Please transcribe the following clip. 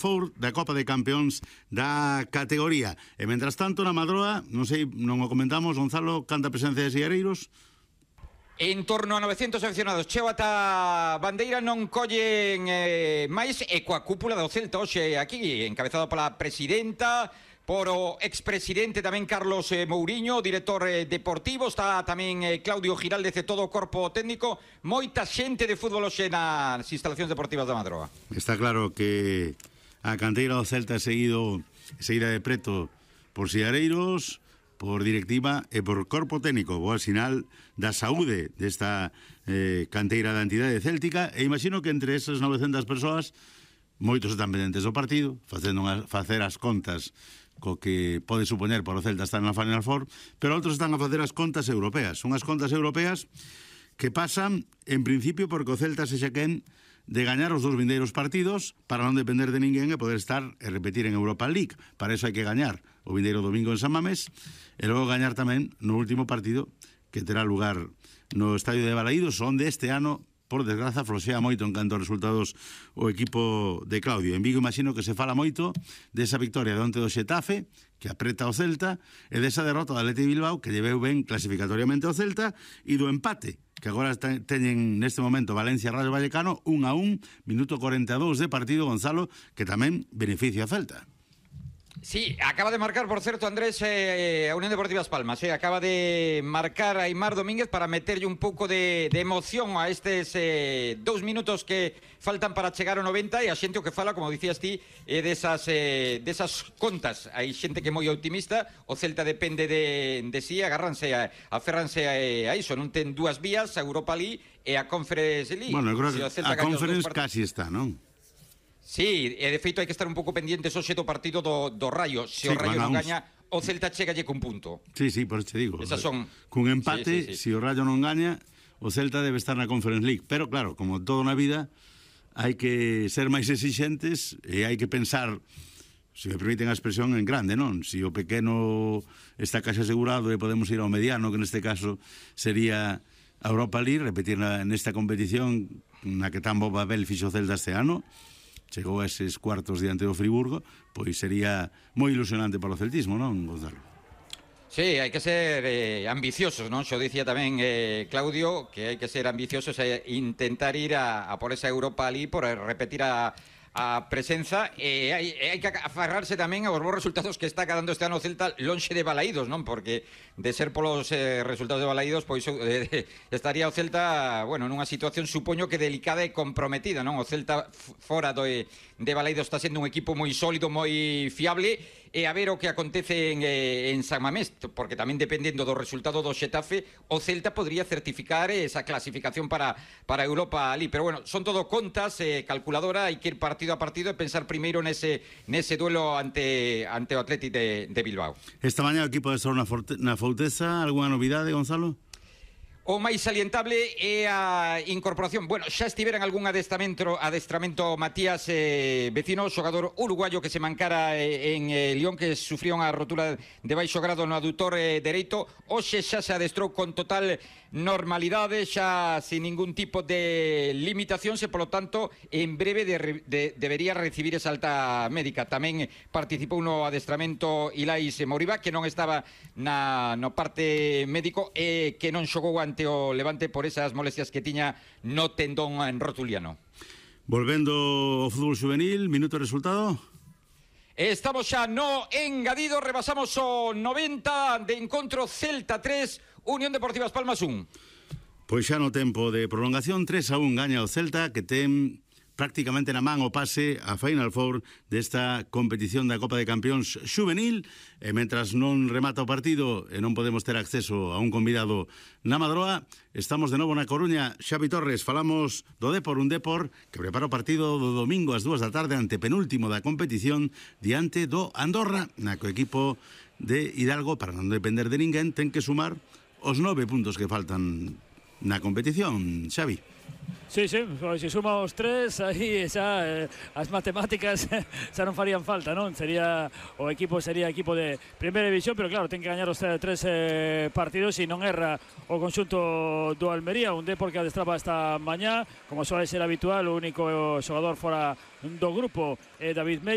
Four da Copa de Campeóns da categoría. E mentras tanto na Madroa, non sei, non o comentamos, Gonzalo, canta presencia de siareiros? En torno a 900 aficionados. Cheo ata bandeira non collen máis, e coa cúpula do Celta hoxe aquí, encabezado pola presidenta, por o expresidente tamén Carlos Mouriño, director deportivo, está tamén Claudio Giraldez e todo o corpo técnico, moita xente de fútbol hoxe nas instalacións deportivas da Madroa. Está claro que a canteira do Celta é seguida de preto por siareiros, por directiva e por corpo técnico. Boa sinal da saúde desta canteira da entidade céltica, e imagino que entre esas 900 persoas moitos están pendentes do partido, facer as contas co que pode supoñer para o Celta estar na Final Four, pero outros están a facer as contas europeas. Son as contas europeas que pasan, en principio, porque o Celta sexa quen de gañar os 2 vindeiros partidos para non depender de ninguén e poder estar e repetir en Europa League. Para eso hai que gañar o vindeiro domingo en San Mamés e logo gañar tamén no último partido que terá lugar no Estadio de Balaídos, onde este ano, por desgraza, floxea moito en canto a resultados o equipo de Claudio. En Vigo imagino que se fala moito desa victoria de onte do Xetafe, que apreta o Celta, e desa derrota do Athletic Bilbao, que lle veu ben clasificatoriamente ao Celta, e do empate que agora teñen neste momento Valencia Rayo Vallecano 1-1, minuto 42 de partido, Gonzalo, que tamén beneficia a Celta. Sí, acaba de marcar, por certo, Andrés, a Unión Deportiva As Palmas, acaba de marcar a Aimar Domínguez para meterlle un pouco de emoción a estes 2 minutos que faltan para chegar ao 90, e a xente o que fala, como dicías ti, desas contas. Hai xente que é moi optimista, o Celta depende de sí, aferranse a iso, non ten 2 vías, a Europa League e a Conference League. Bueno, eu creo que a Conference casi está, non? Sí, e de feito hai que estar un pouco pendientes hoxe do partido do Rayo. Se o Rayo non gaña, o Celta chegalle cun punto. Sí, por eso te digo. Esas son... Cun empate, se o Rayo non gaña, o Celta debe estar na Conference League. Pero claro, como todo na vida, hai que ser máis exixentes e hai que pensar, se me permiten a expresión, en grande, non? Se o pequeno está case asegurado e podemos ir ao mediano, que neste caso sería a Europa League, repetir nesta competición na que tan bo papel fixo o Celta este ano, chegou a eses cuartos diante do Friburgo, pois sería moi ilusionante para o celtismo, non, Gonzalo? Sí, hai que ser ambiciosos, non? Xo dicía tamén Claudio que hai que ser ambiciosos e intentar ir a por esa Europa League, por repetir a presenza, e hai que aferrarse tamén aos bons resultados que está dando este ano o Celta lonxe de Balaídos, non? Porque de ser polos resultados de Balaídos, pois estaría o Celta, bueno, nunha situación supoño que delicada e comprometida, non? O Celta fora de Balaídos está sendo un equipo moi sólido, moi fiable, e a ver o que acontece en San Mamés, porque tamén dependendo do resultado do Xetafe, o Celta podría certificar esa clasificación para Europa League. Pero bueno, son todo contas, calculadora, hai que ir partido a partido e pensar primeiro nese duelo ante o Athletic de Bilbao. Esta mañá o equipo de estar na Fouteza, algunha novidade, Gonzalo? O máis salientable é a incorporación. Bueno, xa estivera en algún adestramento Matías Vecino, xogador uruguayo que se mancara en Lyon, que sufrió unha rotura de baixo grado no adutor dereito. Hoxe xa se adestrou con total normalidade, xa sin ningún tipo de limitacións, e polo tanto en breve debería recibir esa alta médica. Tamén participou no adestramento Ilais Moriba, que non estaba no parte médico e que non xogou ante o Levante por esas molestias que tiña no tendón rotuliano. Volvendo ao fútbol juvenil, minuto de resultado. Estamos xa no engadido, rebasamos o 90 de encontro. Celta 3, Unión Deportiva As Palmas 1. Pois xa no tempo de prolongación, 3-1 gaña o Celta, que ten prácticamente na man o pase a Final Four desta competición da Copa de Campeóns juvenil, e mentras non remata o partido e non podemos ter acceso a un convidado na Madroa, estamos de novo na Coruña. Xavi Torres, falamos do Depor, un Depor que prepara o partido do domingo ás 2 da tarde, ante penúltimo da competición, diante do Andorra, na que o equipo de Hidalgo, para non depender de ninguén, ten que sumar os 9 puntos que faltan na competición, Xavi. Sí, pois se suma os 3, aí xa as matemáticas xa non farían falta, non? O equipo sería equipo de primeira división, pero claro, ten que gañar os 3 partidos e non erra o conxunto do Almería, un Depor que adestraba esta mañá, como soe ser habitual, o único xogador fora do grupo é David Mella.